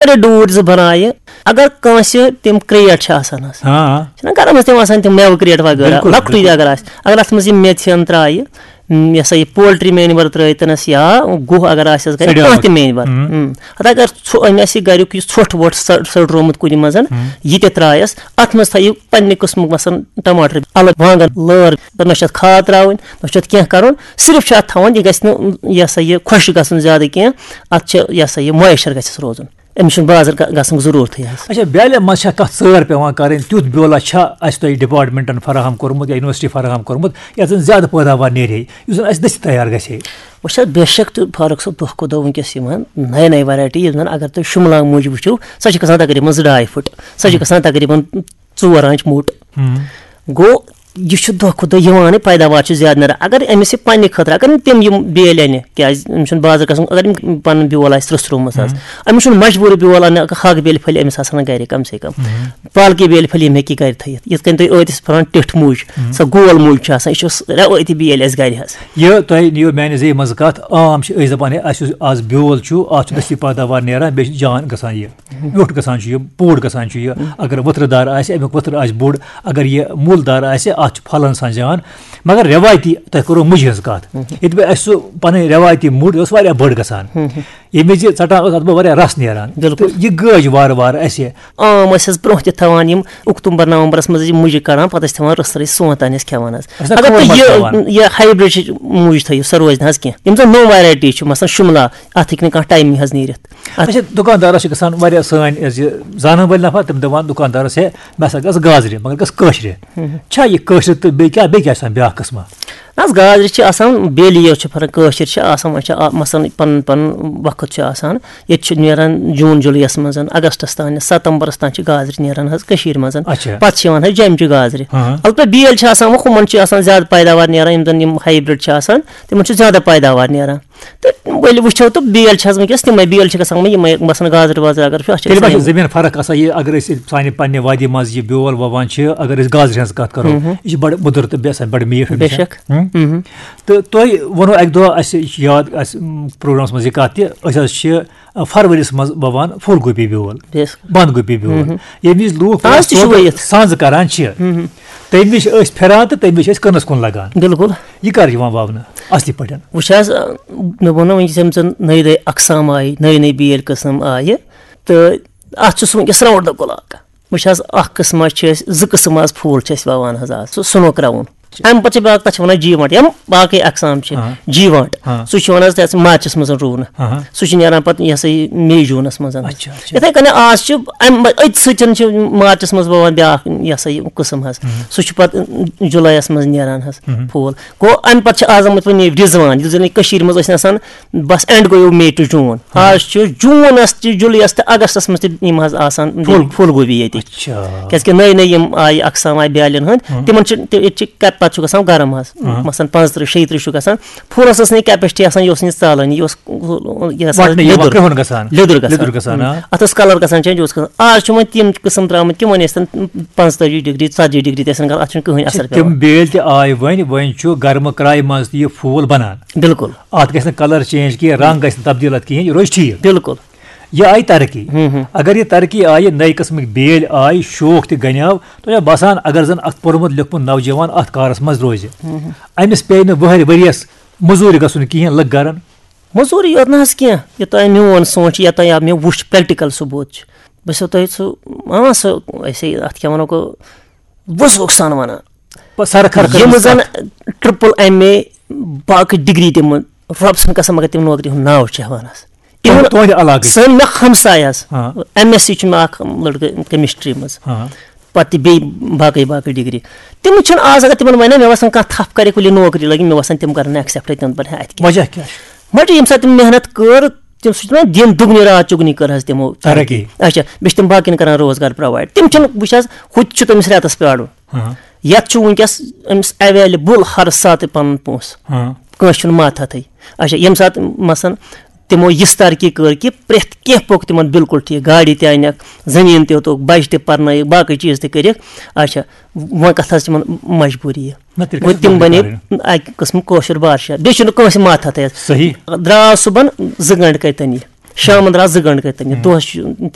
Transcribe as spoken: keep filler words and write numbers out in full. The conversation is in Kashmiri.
اگر ڈوٗرۍ زٕ بَنایہِ، اگر کٲنٛسہِ تِم کرٛیٹ چھِ آسان حظ، ہاں۔ چھِنہ گَرَن منٛز تِم آسان تِم مٮ۪وٕ کرٛیٹ وغیرہ، بِلکُل، لۄکٹُے بِلکُل۔ اگر آسہِ، اگر اَتھ منٛز یِم میٚژِ ہن ترٛایہِ، م، یہِ ہسا یہِ پولٹری مینور ترٛٲیتَنَس یا گُہہ اگر آسٮ۪س گَرِ، سڑیومُت۔ کانٛہہ تہِ مینور، ہم۔ ہم۔ ہَتہٕ اگر ژھو-، أمۍ آسہِ یہِ گَریُک یُس ژھۄٹھ وۄٹھ سڑ-، سڑرومُت کُنہِ منٛز، ہم۔ یہِ تہِ ترٛایَس، اَتھ منٛز تھٲیِو پنٛنہِ قٕسمُک مثلاً ٹماٹر الگ، وانٛگن لٲر، نہ چھِ اَتھ کھاد ترٛاوٕنۍ، نہ چھِ اَتھ کینٛہہ کَرُن، صرف چھِ اَتھ تھاوُن، یہِ گژھِ نہٕ یہِ ہسا یہِ خۄشک گژھُن زیادٕ کینٛہہ، اَتھ چھِ یہِ ہسا یہِ مویسچر گژھٮ۪س روزُن۔ أمِس چھُنہٕ بازر گژھنُک ضروٗرتھٕے حظ۔ اچھا، بیلہِ منٛز چھا کانٛہہ ژٲر پٮ۪وان کَرٕنۍ؟ تیُتھ بیولا چھا اَسہِ تۄہہِ ڈپارٹمنٹن فراہم کوٚرمُت یا یونیورسٹی فراہم کوٚرمُت، یَتھ زَن زیادٕ پٲداوار نیرِ ہے، یُس زَن اَسہِ دٔستی تیار گژھِ ہے؟ وٕچھ حظ، بے شک تہٕ فاروق صٲب، دۄہ کھۄتہٕ دۄہ وٕنکیٚس یِوان نَیہِ نَیہِ ویرایٹی، یِم زَن اگر تُہۍ شُملہ موٗجوٗب وٕچھِو، سۄ چھِ گژھان تقریٖباً زٕ ڈاے فُٹ، سۄ چھِ گژھان تقریٖباً ژور آنٛچہِ موٚٹ۔ ہم۔ گوٚو، یہِ چھُ دۄہ کھۄتہٕ دۄہ یِوانٕے، پیداوار چھِ زیادٕ نیران۔ اگر أمِس یہِ پننہِ خٲطرٕ، اگر أمۍ تِم یِم بیٲلۍ اَنہِ، کیٛازِ أمِس چھُنہٕ بازر گژھُن، اگر أمۍ پنُن بیول آسہِ ترٛوٚسرومُت حظ، أمِس چھُنہٕ مجبوٗری بیول اَننہٕ، اگر ہاکہٕ بیلہِ پھٔلۍ أمِس آسان گرِ کم سے کم، پالکہِ بیلہِ پھٔلۍ یِم ہیٚکہِ یہِ گرِ تھٲیِتھ۔ یِتھ کٔنۍ تُہۍ ٲدِس پھران ٹِٹھ مُج، سۄ گول مُج چھِ آسان، یہِ چھُ رٮ۪وٲیتی بیٲلۍ اَسہِ گرِ حظ۔ یہِ تۄہہِ نِیو میانہِ زیٚیہِ منٛز کَتھ، عام چھِ أسۍ دَپان، ہے، اَسہِ یُس آز بیول چھُ، اَتھ چھُ دٔستی پٲداوار نیران، بیٚیہِ چھُ جان گژھان یہِ۔ ویوٚٹھ گژھان چھُ یہِ، پوٚٹ گژھان چھُ یہِ۔ اگر ؤتھرٕ دار آسہِ، اَمیُک ؤتھرٕ آسہِ بوٚڑ۔ اگر یہِ مُل دار آسہِ، اَتھ چھُ پھلن آسان جان۔ مگر رٮ۪وایتی، تۄہہِ کوٚروٕ مُجہِ ہٕنٛز کَتھ۔ ییٚتہِ بہٕ اَسہِ سُہ پَنٕنۍ رٮ۪وایتی مُج ٲس واریاہ بٔڑ گژھان۔ ییٚمہِ وِزِ ژَٹان ٲس، اَتھ بہٕ واریاہ رَس نیران۔ بِلکُل۔ تہٕ یہِ گٲج وارٕ وارٕ اَسہِ۔ عام ٲسۍ حظ برونٛہہ تہِ تھاوان یِم اکتوٗبر نومبرس منٛز یہِ مُجہِ کڑان، پتہٕ ٲسۍ تھاوان رٕژھ رٕژھ سونٛتھ تام ٲسۍ کھٮ۪وان حظ۔ أسۍ نا اگر کھوٗر تُہۍ منٛز یہِ تھاوان۔ یہِ ہایبرڈ چھِ مُج تھٲیِو، سۄ روزِ نہٕ حظ کینٛہہ۔ یِم زن نوٚو ویرایٹی چھِ، مثلاً شُملا، اتھ ہیٚکہِ نہٕ کانٛہہ ٹایمٕے حظ نیٖرِتھ۔ اتھ اچھا، دُکاندارس چھِ گژھان واریاہ سٲنۍ أسۍ یہِ زانن وٲلۍ نفر، تِم دپان دُکاندارس، ہے، مےٚ ہسا گژھ گازرِ، مگر گژھ کٲشرِ۔ چھا یہِ کٲشرِ تہٕ بیٚیہِ کیٛاہ، بیٚیہِ کیٛاہ چھِ آسان بیٛاکھ قٕسمہ؟ نہ حظ، گازرِ چھِ آسان بیٚیہِ یوت چھِ فرق، کٲشِر چھِ آسان، وۄنۍ چھِ آ-، مثلاً پنُن پنُن وقت چھُ آسان۔ ییٚتہِ چھُ نیران جوٗن جُلایَس منٛز، اگستَس تام، ستمبرَس تام چھِ گازرِ نیران حظ کٔشیٖرِ منٛز۔ اچھا۔ پَتہٕ چھِ یِوان حظ جیٚمچہِ گازرِ۔ ہاں۔ البتہ بیل چھِ آسان وۄنۍ، ہُمَن چھِ آسان زیادٕ پیداوار نیران، یِم زَن یِم ہایبرڈ چھِ آسان، تِمَن چھُ زیادٕ پیداوار نیران۔ تہٕ ؤلِو وٕچھو، تہٕ بیل چھِ حظ وٕنکیٚس تِمَے، بیل چھِ گژھان وۄنۍ یِمَے، مثلاً گازرِ وازرِ اگر چھُ، اَتھ چھِ تیٚلہِ ما چھِ گژھان یِم۔ زٔمیٖن فرق آسان؟ یہِ اگر أسۍ سانہِ پننہِ وادی منٛز یہِ بیول وَوان چھِ، اگر أسۍ گازرِ ہٕنٛز کَتھ کَرو، یہِ چھِ بڑٕ مُدٕر تہٕ بیٚیہِ آسان بڑٕ میٖٹھ ہمیشہ۔ بیشک۔ ہُم۔ تہٕ تۄہہِ ووٚنوٕ اَکہِ دۄہ اَسہِ، یہِ چھِ یاد اَسہِ، م، پروگرامَس منٛز یہِ کَتھ تہِ، أسۍ حظ چھِ، آ، فروریَس منٛز وَوان پھول گوبی بیول، بیشک۔ بنٛد گوبی بیول۔ ییٚمہِ وِزِ لوٗکھ آز تہِ چھُ سونٛتہٕ وٲیِتھ۔ سَنٛز کَران چھِ، تَمہِ وِزِ چھِ أسۍ پھِران تہٕ تَمہِ وِزِ چھِ أسۍ کٕنَس کُن لَگان۔ بِلکُل۔ یہِ کَر یِوان وَونہٕ اَصلی پٲٹھۍ؟ وٕچھ حظ، آ، مےٚ ووٚن نہ وٕنکیٚس، یِم زَن نٔے نٔے اقسام آیہِ، نٔے نٔے بیٲلۍ قٕسٕم آیہِ، تہٕ اَتھ چھُ سُہ وٕنکیٚس round the clock۔ وٕچھ حظ، اَکھ قٕسما چھِ أسۍ، زٕ قٕسٕم آز پھول چھِ أسۍ وَوان حظ آز، سُہ سنو کراوُن۔ اَمہِ پَتہٕ چھِ بیٛاکھ، تَتھ چھِ وَنان جیٖوانٛٹ، یِم باقٕے اقسام چھِ، ہاں۔ جیٖوانٛٹ۔ ہاں۔ سُہ چھُ یِوان حظ تَتھ مارچَس منٛز رُونہٕ۔ ہاں۔ سُہ چھُ نیران پَتہٕ، یہِ ہسا یہِ، مے جوٗنَس منٛز۔ اچھا، اچھا۔ یِتھَے کٔنۍ آز چھِ اَمہِ، أتھۍ سۭتۍ چھِ مارچَس منٛز وَوان بیٛاکھ، یہِ ہسا یہِ، قٕسٕم حظ۔ ہُم۔ سُہ چھُ پَتہٕ جُلایَس منٛز نیران حظ ہُم۔ پھول۔ گوٚو، اَمہِ پَتہٕ چھِ آز آمٕتۍ وۄنۍ یہِ رِزوان، یُس زَن یہِ کٔشیٖرِ منٛز ٲسۍ آسان، بَس اینڈ گوٚو مے ٹُو جوٗن۔ ہُم۔ آز چھُ جوٗنَس تہِ، جُلایَس تہٕ اگستَس منٛز تہِ یِم حظ آسان پھول۔ پھول گوبی ییٚتہِ۔ اچھا۔ کیٛازِکہِ نٔے نٔے یِم آیہِ اقسام آیہِ بیٛالٮ۪ن ہُنٛد، ہُم۔ تِمَن چھِ تہِ-، ییٚتہِ چھِ کَپ-، پَتہٕ چھُ گژھان گرم حظ، ہُم۔ مثلاً پانٛژترٕٛہ شیٚیہِ ترٕٛہ چھُ گژھان۔ پھولَس ٲس نہٕ یہِ capacity آسان، یہِ اوس نہٕ یہِ ژالٲنی، یہِ اوس، یہِ ہسا ٲس وَٹنہٕ یِوان، لیٚدُر۔ کرٛہُن گژھان۔ لیٚدُر گژھان۔ لیٚدُر گژھان، آ۔ اَتھ ٲس colour گژھان change، اوس گژھان۔ آز چھُ وۄنۍ تِم قٕسٕم درٛامٕتۍ، تِمَن ٲسۍ تَن پانٛژتٲجی ڈگری، ژتجی ڈگری تہِ ٲسۍ نہٕ گژھان، اَتھ چھُنہٕ کٕہٕنۍ اثر چھِ تِم پٮ۪وان۔ بیٲلۍ تہِ آے وۄنۍ، وۄنۍ چھُ گرمہٕ کرٛایہِ منٛز تہِ یہِ پھول بنان۔ بِلکُل۔ اَتھ گژھِ نہٕ colour change کینٛہہ، رنٛگ گژھِ نہٕ تبدیٖل اَتھ کِہیٖنۍ، یہِ روزِ ٹھیٖک۔ بِلکُل۔ یہِ آیہِ ترقی۔ ہُم، ہُم۔ اگر یہِ ترقی آیہِ، نَیہِ قٕسمٕکۍ بیٲلۍ آے، شوخ تہِ گنیو، تۄہہِ چھا باسان اگر زن اکھ پوٚرمُت لیوٚکھمُت نوجوان اتھ کارس منٛز روزِ، ہُم، ہُم۔ أمِس پیٚیہِ نہٕ ؤہرِ ؤریس مٔزوٗرِ گژھُن کِہیٖنۍ، لُکھ گرن۔ مٔزوٗرِ یوت نہٕ حظ کینٛہہ، یوٚتام میون سونٛچ، یوٚتام یا مےٚ وُچھ practical ثبوٗت چھُ، بہٕ چھُسو تۄہہِ سُہ، اۭں، سُہ، أسے اتھ کیٛاہ ونو، گوٚو وُزوُک سان ونان۔ پتہٕ سرٕ خرٕ یِم خٔرمٕژ زن کتھ۔ Triple M A، باقٕے ڈگری تِم، رۄب سٕنٛدِ قسم، مگر تِم نوکری ہُنٛد ناو چھِ ہٮ۪وان حظ۔ تِہُنٛد، تُہُنٛدِ علاقٕچ۔ سٲنۍ مےٚ ہمساے حظ، ہاں۔ M S C چھُ مےٚ اکھ لڑکہٕ chemistry منٛز۔ ہاں۔ پتہٕ تہِ بیٚیہِ باقٕے باقٕے ڈگری۔ تِم چھِنہٕ آز، اگر تِمن ونہِ، مےٚ باسان کانٛہہ تھپھ کرِ کُلہِ نوکری لگہِ، مےٚ باسان تِم کرن accept، تِم دپن، ہے، اتہِ کیٛاہ؟ وجہ کیٛاہ چھُ؟ وجہ ییٚمہِ ساتہٕ تِم محنت کٔر، تِم سُہ چھُ دپان، دِن دُگنہِ رات چُگنہِ کٔر حظ تِمو۔ ترقی۔ اچھا، بیٚیہِ چھِ تِم باقین کران روزگار provide۔ تِم چھِنہٕ، وٕچھ حظ، ہُتہِ چھُ تٔمِس رٮ۪تس پیارُن۔ ہاں۔ یتھ چھُ وٕنکیٚس أمِس available ہر ساتہٕ پنُن پونٛسہٕ۔ ہاں۔ کٲنٛسہِ چھُنہٕ ماتھ ہتھٕے۔ اچھا، ییٚمہِ ساتہٕ مثلاً تِمو یِژھ ترقی کٔر کہِ پرٛٮ۪تھ کینٛہہ پوٚک تِمن بِلکُل ٹھیٖک، گاڑِ تہِ انٮ۪کھ، زٔمیٖن تہِ ہیوٚتُکھ، بچہِ تہِ پرنٲیِکھ، باقٕے چیٖز تہِ کٔرِکھ۔ اچھا، وۄنۍ کتھ حظ تِمن مجبوٗری یہِ؟ نہ، تیٚلہِ وۄنۍ کتھ تِم مجبوٗری بنے کرٕنۍ؟ اکہِ قٕسمہٕ کٲشُر بادشاہ، بیٚیہِ چھُنہٕ کٲنٛسہِ ماتھ ہتھٕے حظ۔ صحیح۔ درٛاو صُبحن زٕ گٲنٛٹہٕ کتہِ تَنہِ یہِ، شامن درٛاو زٕ گٲنٛٹہٕ کتہِ تَنہِ یہِ، ہُم۔ دۄہس چھُ